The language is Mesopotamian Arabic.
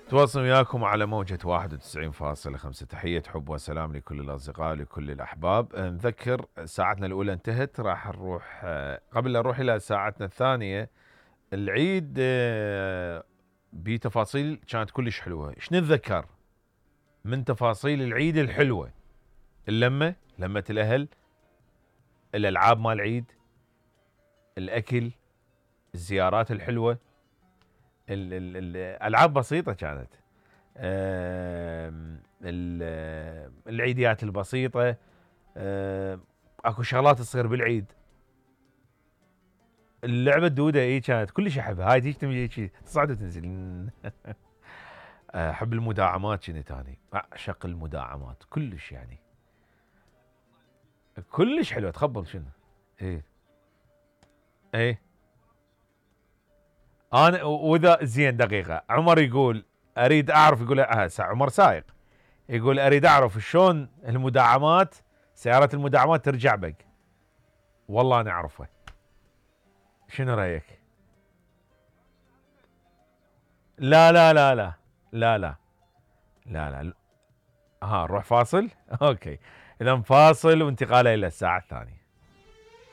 تواصل وياكم على موجة 91.5. تحية حب وسلام لكل الأصدقاء لكل الأحباب. نذكر ساعتنا الأولى انتهت، راح نروح قبل لا نروح إلى ساعتنا الثانية. العيد بتفاصيل كانت كلش حلوة. ايش نتذكر من تفاصيل العيد الحلوة؟ اللمة، لمة الأهل، الألعاب مال العيد، الأكل، الزيارات الحلوة، الألعاب بسيطة كانت، العيديات البسيطة، اكو شغلات تصير بالعيد. اللعبة الدودة اي كانت كلش احبها، هاي تيجي تصعد وتنزل. احب المداعمات، كنت اني اعشق المداعمات كلش، يعني كلش حلوة. تخبل شنو؟ ايه ايه انا واذا زين دقيقة عمر يقول اريد اعرف، يقول عمر سايق، يقول اريد اعرف شلون المداعمات، سيارات المداعمات ترجع بك. والله انا اعرفه. شنو رايك؟ لا لا لا لا لا لا لا لا. ها نروح فاصل. اوكي، اذا فاصل وانتقال الى الساعة الثانية.